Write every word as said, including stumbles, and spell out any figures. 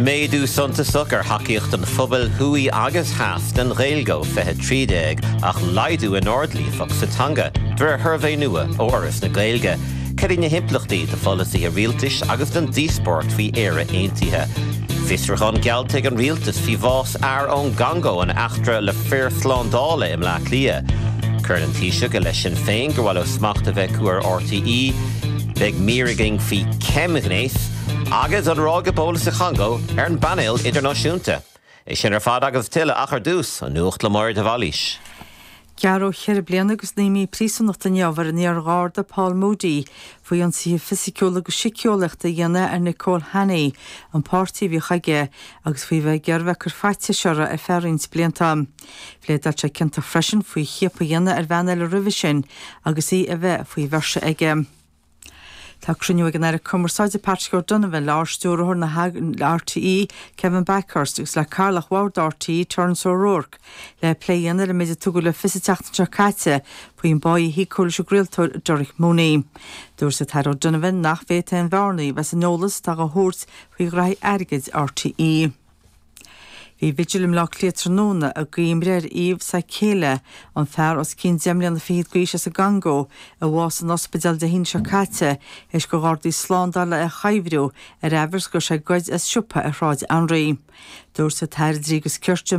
Méadú suntasach ar thacaíocht an phobail thuaidh agus theas den Ghaeilge ó fiche trí déag ach laghdú in ord líofacht sa teanga, de réir shuirbhé nua ó Fhoras na Gaeilge. Cad iad na himpleachtaí do pholasaithe rialtais agus don díospóireacht faoi Éire Aontaithe. Fiosrúchán geallta ag an rialtas faoi bhás fhear ón gCongó in eachtra le fir slándála i mBleá Cliath. Cuireann an Taoiseach i leith Sinn Féin gur mhaith leo smacht a bheith acu ar RTÉ, beidh mír againn faoi cheimghnéas, agus an ráig Ebola sa Chongó ar an bpainéal idirnáisiúnta. É sin ar fad agus tuilleadh ach ar dtús an nuacht le Máire de Bhailís. Gearradh ceithre bliana agus naoi mí príosúnachta inniu ar an iar-gharda Paul Moody faoi ionsaithe fisiciúla agus síceolaíochta a dhéanamh ar Nicole Hannay, an páirtí a bhí aige agus faoi bheith ag iarraidh bheith ag cur faitíos uirthi ar feadh roinnt blianta. Phléadáil sé ciontach freisin faoi chiapadh a dhéanamh ar bhean eile roimhe sin agus í a bheith faoi mhaoirseacht aige. Tá cruinniú ag an Aire Cumarsáide Patrick O'Donovan le Ardstiúrthóir na RTÉ Kevin Bakhurst agus le Cathaoirleach Bhord RTÉ Terence O'Rourke le plé a dhéanamh ar an méid a tugadh le fios an tseachtain seo caite faoin bpá a híocadh leis an gcraoltóir Derek Mooney. Dúirt an tAire O'Donovan nach bhféadfaí aon bhearnaí a bheith san eolas atá á thabhairt faoi ghraithí airgid RTÉ. Bhí vigil i mBleá Cliath tráthnóna i gcuimhne ar Yves Sakele, an fear os cionn deich mbliana fichead d'aois as an gCongó a bhásaigh san ospidéal Dé hAoine seo caite théis do ghardaí slándála é a chuibhriú ar aimhreas go raibh sé ag goid as siopa ar Shráid Anraí. Dúirt an tAire Dlí agus Cirt